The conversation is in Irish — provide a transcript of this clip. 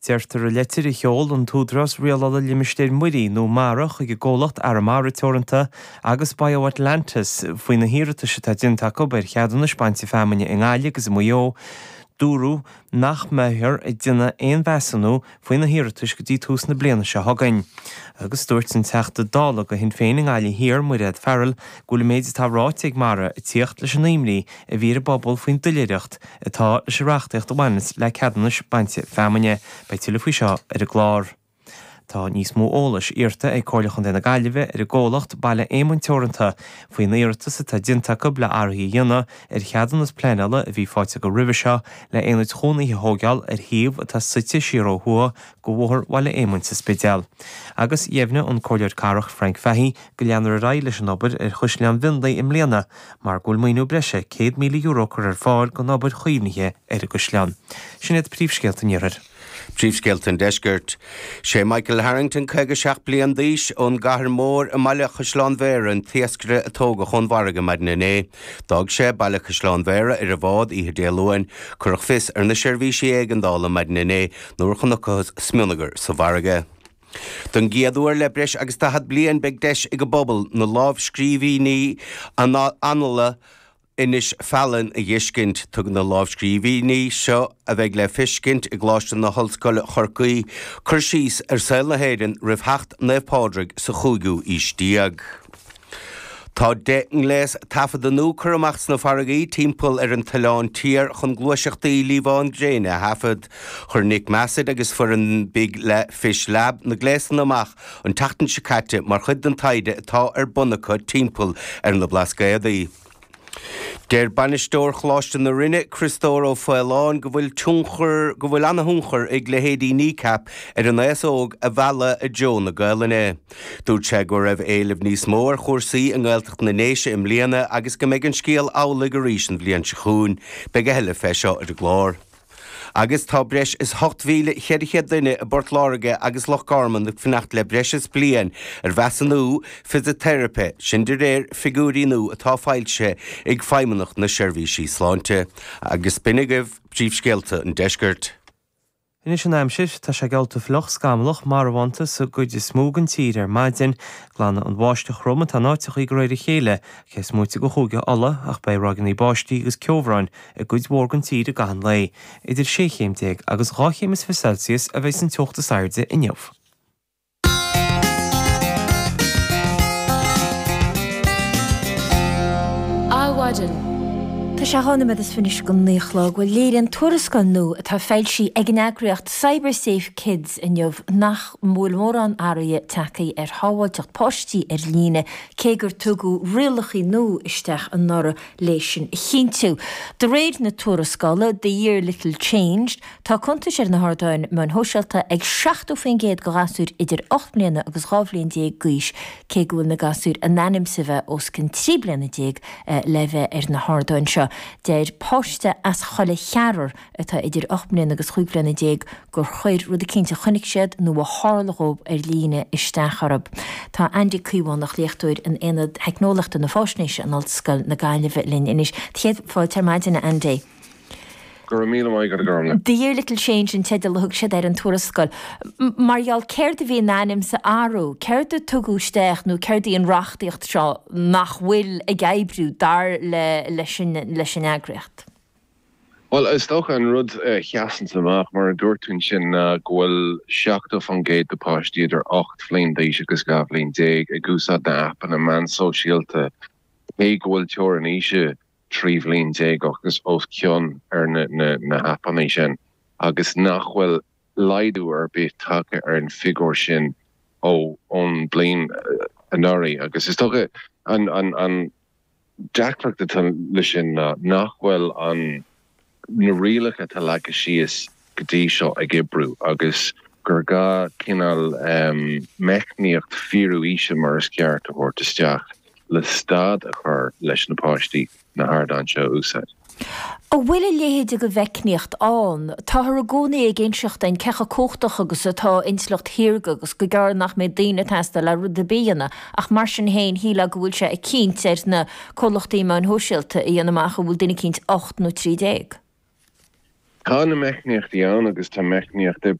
Deirtear i leitir a sheol an tÚdarás Rialála Limistéir Muirí nó Mara chuig an gcomhlacht Arramara Teoranta agus BioAtlantis faoi na hiarratais atá déanta acu ar cheadúnais bainte feamainne i nGaillimh agus i Maigh Eo, dúradh nach mbeifear ag déanamh aon mheasúnú faoi na hiarratais go dtí tús na bliana seo chugainn. Agus dúirt an Teachta Dála do Shinn Féin i nGaillimh Thiar, Mairéad Farrell, go bhfuil an méid atá ráite ag Mara ag tíocht leis an imní a bhí ar an bpobal faoin doiléireacht atá leis an reachtaíocht a bhaineanns le ceadúnais bainte feamainne. Beidh tuilleadh faoi seo ar an gclár. Tá níos mó eolais iarrta ag Comhairle Chontae na Gaillimhe ar an gcomhlacht Baile Éamoinn Teoranta faoin iarratas atá déanta acu le athruithe a dhéanamh ar cheadúnas pleanála a bhí faighte acu roimhe seo le aonaid chónaithe a thóigeáil ar shuíomh atá suite siar ó thuaidh de Bhóthar Bhaile Éamoinn sa Spidéal. Agus dheimhnigh an Comhairleoir Cathrach Frank Fahey go leanfar ar aghaidh leis an obair ar Chaisleán Mhionlaigh i mbliana mar go bhfuil maoiniú breise €100,000 curtha ar fáil don obair chaomhnaithe ar an gcaisleán. Sin iad príomhscéalta an Iarthair. Príomhscéalta an Deiscirt. Sé Michael Harrington, 57 bliain d'aois, ón gCathair Mhór i mBaile Chaisleán Bhéarra an t-iascaire a tógadh ón bhfarraige maidin inné. D'fhág sé Baile Chaisleán Bhéarra ar an bhád oíche Dé Luain. Cuireadh fios ar na seirbhísí éigeandála maidin inné nuair a chonacthas smionagar sa bhfarraige. Don gcéad uair le breis agus 40 bliain beidh deis ag an bpobal na lámhscríbhinní Annála Inis Faithleann a dh'fheiscint. Tugann na lámhscríbhinní seo, a bheidh le feiscint i gColáiste na hOllscoile Chorcaí, cur síos ar saol na hÉireann roimh theacht Naomh Pádraig sa chúigiú aois déag. Tá 10 ngléas taifeadta nua curtha amach sna farraigí timpeall ar an tOileán Tiar chun gluaiseachtaí liamhán gréine a thaifead. Chuir Nick Massett agus foireann Big Fish Lab na gléasanna amach an tseachtain seo caite mar chuid den taighde atá ar bun acu timpeall ar na Blascaodaí. Deir bainisteoir Choláiste na Rinne, Criostóir Ó Faoláin, go bhfuil tionchar go bhfuil ana-thionchar ag leithéidí Kneecap ar an aos óg a mhealladh i dtreo na Gaelainne. Dúirt sé go raibh éileamh níos mó ar chúrsaí i nGaeltacht na nDéise i mbliana agus go mbeidh an scéal amhlaidh arís an bhliain seo chugainn. Beidh a thuilleadh fé seo ar an gclár. Agus tá breis is 8,400 duine i bPort Láirge agus Loch Garman ag fanacht le breis is bliain ar mheasúnú fisiteiripe, sin de réir figiúirí nua atá foilsithe ag Feidhmeannacht na Seirbhísí Sláinte. Agus b'in agaibh príomhscéalta an deiscirt. Anois an aimsir, tá sé geallta fliuch, scamallach, marbhánta sa gcuid is mó den tír ar maidin. Glanfaidh an bháisteach throm atá in áiteachaí de réir a chéile, cé is móite de Chúige Uladh, ach beidh ráigeanna báistí agus ceobhráin i gcuid mhór den tír i gcaitheamh an lae. Idir sé chéim déag agus 12 chéim Celsius a bheidh an teocht is airde inniu. Adhmhaidin. Tá sé 12 nóiméad is fiche go 9 a chlog. Bhuel, léiríonn tuarascáil nua atá foilsithe ag an eagraíocht CyberSafe Kids inniu nach bhfuil mórán athraithe tagtha ar shábháilteacht páistí ar líne, cé gur tugadh rialacha nua isteach anuraidh léi sin a chinntiú. De réir na tuarascála, The Year Little Changed, tá cuntais ar na hardáin meáin shóisialta ag 70% de ghasúir idir 8 mbliana agus 12 bhliain d'aois, cé go bhfuil na gasúir in ainm is a bheith os cionn 13 bliana le bheith ar na hardáin seo. Deir páiste as Coill Cheathrar atá idir 8 mbliana agus 15 bhliana gur chuir rud eicínt a chonaic siad nó a tharla dhóibh ar líne isteach orthu. Tá Andy Caomhánach, léachtóir in Aonad Theicneolaíochta na Faisnéise in Ollscoil na Gaillimhe linn anois. Céad fáilte ar maidin, a Andy. Go raibh míle maith agat, a Ghormfhlaith. The Year Little Changed an teideal a thug siad ar an tuarascáil. Mar gheall céard a bhí in ainm is a athrú? Céard a tugadh isteach nó céard í an reachtaíocht seo nach bhfuil ag oibriú dar le leis an eagraíocht? Bhuel, is dócha an rud a sheasanns amach, mar a dúirt tú ansin, ná go bhfuil 70% de páistí idir 8 bhliain d'aois agus 12 bhliain ag úsáid na aipeanna meán sóisialta, cé go bhfuil teorainn aoise 13 bhliain agus os cionn ar na haipeanna sin, agus nach bhfuil laghdú ar bith tagtha ar an bhfigiúr sin ó ón bliain anuraidh. Agus is dócha an. deacracht atá leis sin ná nach bhfuil an na rialacha atá leagtha síos go dtí seo ag oibriú agus gur gá cineál meicníocht fíorú aoise mar is ceart a thabhairt isteach le stad a chur leis na páistí na hardáin seo a úsáid. An bhfuil a leithéid de mheicníocht ann? Táthar i gcónaí ag inseacht dúinn cé chomh cumhachtach agus atá intleacht shaorga agus gur gearr nach mbeidh daoine ag teastáil le rud ar bith a dhéanamh ach mar sin féin shílfeá go bhfuil sé ag cinnt ar na comhlachtaí meáin shóisialta a dhéanamh amach an bhfuil duine eicínt 8 nó 13. Tá na meicníochtaí ann agus tá meicníocht oibrithe.